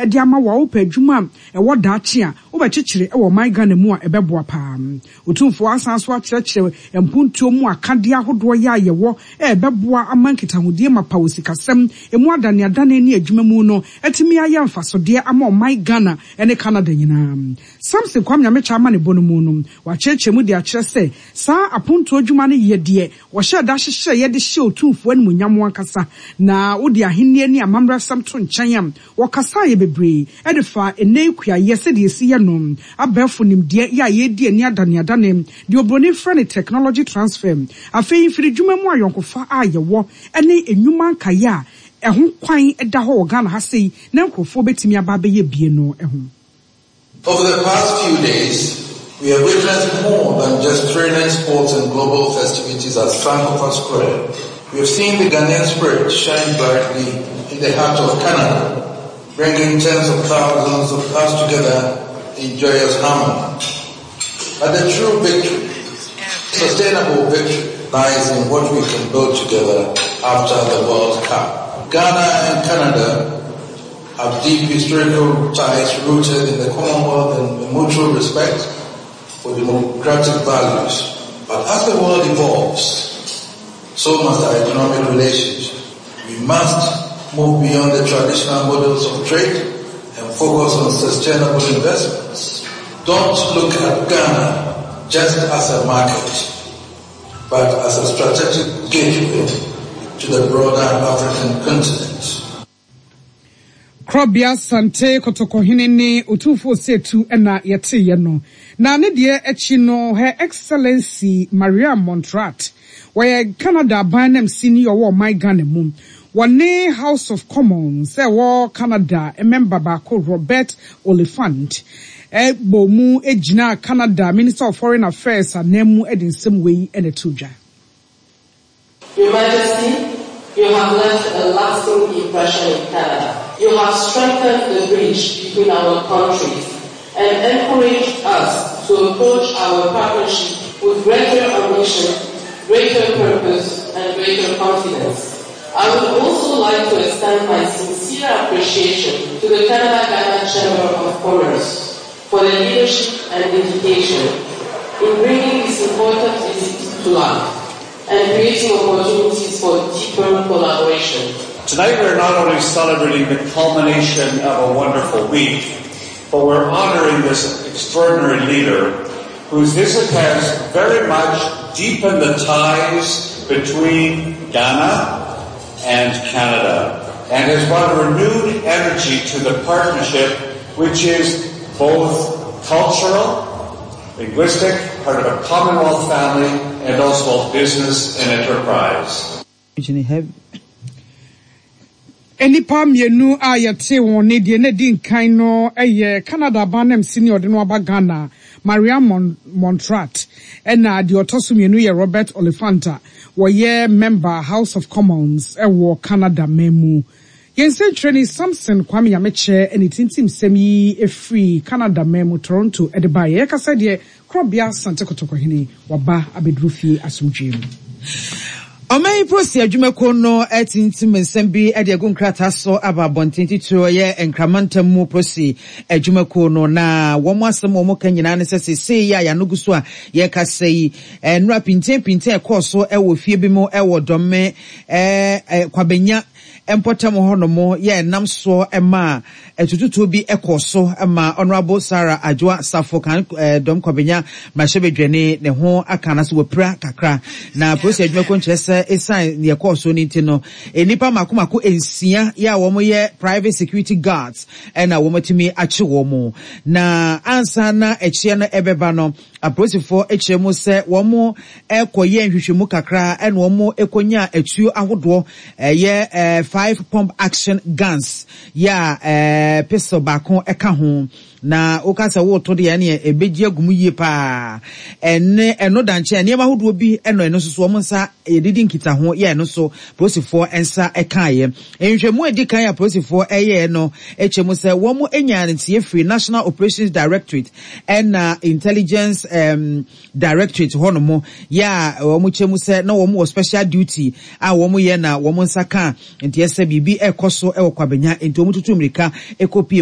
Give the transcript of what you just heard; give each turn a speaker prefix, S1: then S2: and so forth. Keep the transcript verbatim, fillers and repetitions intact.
S1: de ama wo a wopɛ adwuma a ɛwɔ daakye a wobɛkyekyere wɔ ɔman Ghana mu a ɛbɛboa paa. Otumfoɔ asan so akyerɛkyerɛ mpuntuo mu akadeɛ ahodoɔ yɛ a yɛwɔ a ɛbɛboa ama nkitahodie mapa wɔ sikasɛm emu adaneadane ne adwuma mu no atumi ayɛ mfasodeɛ ama ɔman Ghana ne Canada nyinaa. Samson Kwame Nyamekyɛ ama ne bɔ no mu no, wakyerɛkyerɛ mu de akyerɛ sɛ saa apontoɔ adwuma no yɛ deɛ wɔhyɛ da hyehyɛ yɛde hyɛ Otumfoɔ animuonyam ankasa na wode ahenni ne amammerɛsɛm to nkyɛn a wɔkasa yɛ bebree ɛde fa ɛnɛ kuayɛ sɛdeɛ esi yɛ no abɛɛfo nimdeɛ yɛ a yɛdi ani adaneadane deɛ oburoni frɛ no technology transfer afei mfiridwuma mu ayɔnkofa a yɛwɔ ne nnwuma nkaeɛ a ɛho kwan da hɔ wɔ Ghana ha sei na nkurɔfoɔ bɛtumi aba abɛyɛ bie no ho.
S2: Over the past few days, we have witnessed more than just thrilling sports and global festivities at Sankofa Square. We have seen the Ghanaian spirit shine brightly in the heart of Canada, bringing tens of thousands of us together in joyous harmony. But the true victory, sustainable victory, lies in what we can build together after the World Cup. Ghana and Canada have deep historical ties rooted in the Commonwealth and mutual respect for democratic values. But as the world evolves, so must our economic relations. We must move beyond the traditional models of trade and focus on sustainable investments. Don't look at Ghana just as a market, but as a strategic gateway to the broader African continent.
S1: Krobea Asante Kɔtɔkɔhene ne Otumfoɔ Osei na yɛteeɛ no. Na ne deɛ akyi no, Her Excellency Maria Montrat, wɔyɛ Canada aban namsini ɔwɔ ɔman Ghana mu. Wɔne House of Commons sɛ ɛwɔ Canada member baako Robert Oliphant ɛbɔ mu gyina Canada Minister of Foreign Affairs anan mu de nsɛm wei na ɛto dwa.
S3: Your Majesty, you have left a lasting impression in Canada. You have strengthened the bridge between our countries and encouraged us to approach our partnership with greater ambition, greater purpose, and greater confidence. I would also like to extend my sincere appreciation to the Canada-Ghana Chamber of Commerce for their leadership and dedication in bringing this important visit to life and creating opportunities for deeper collaboration.
S4: Tonight we're not only celebrating the culmination of a wonderful week, but we're honoring this extraordinary leader whose visit has very much deepened the ties between Ghana and Canada and has brought a renewed energy to the partnership, which is both cultural, linguistic, part of a Commonwealth family, and also business and enterprise.
S1: Nnipa mmienu a yɛte wɔn ne deɛ na di nkan no yɛ Canada aban namsini ɔde no aba Ghana, Maria Mon Montrat, ɛna deɛ ɔtɔ so mmienu yɛ Robert Oliphant a wɔyɛ member House of Commons ɛwɔ Canada man mu. Yɛn nsɛntwerɛni Samson Kwame Nyamekyɛ ne tintim sɛm yi efiri Canada man mu Toronto ɛde ba yɛ yɛkasa deɛ Korɔbea Asante Kotokɔhene waba abɛduru fie asomdwee mu.
S5: Ɔman yi polisi adwumakuo no atintim nsɛm bi de agu nkrataa so aba abɔnten titiri ɔyɛ Nkramantam mu polisi adwumakuo no na wɔn asɛm a wɔn ka nyinaa ne sɛ seesei yi a yɛano gu so a yɛkasa yi nnura pintin ɛkɔɔ so wɔ fie bi mu wɔ Dɔme ɛɛ Kwabenya mpɔtam hɔnom yɛ nam soɔ ma atututuo bi kɔɔ so ma Honourable Sarah Adwoa Safo kan Dɔm Kwabenya mmarahyɛbadwani ne ho aka na so wɔpira kakra na polisi adwumakuo nkyerɛ sɛ ɛsiane deɛ ɛkɔɔ so no nti no nnipa mako mako nsia yɛ a wɔyɛ private security guards ɛna wɔatumi akye wɔn mu na ansa na akyiɛ no ɛbɛba no apolisifoɔ akyerɛ mu sɛ wɔn ɛkɔyɛ nhwehwɛmu kakra ɛna wɔn ɛkɔnya atuo ahodoɔ ɛyɛ ɛɛ five pump action guns yɛ a ɛɛ pistol baako ɛka ho na woka sɛ woto deɛ ɛneɛ ɛbɛgye agu mu yie paa ɛne ɛno da nkyɛn nneɛma ahodoɔ bi ɛno ɛno nso so wɔn nsa yɛdidi nkitaho yɛ ɛno so polisifoɔ nsa ɛkaeɛ nhwehwɛmu a edi kan a polisifoɔ ɛyɛɛ no ɛkyɛ mu sɛ wɔn anya ntie firi National Operations Directorate ɛna Intelligence um, Directorate hɔnom yɛ a wɔn kyɛ mu sɛ na wɔn wɔ special duty a wɔn yɛ na wɔn nsa ka nti ɛsɛ biribi ɛkɔ so ɛwɔ Kwabenya nti wɔn tutu mmirika ɛkɔ pie.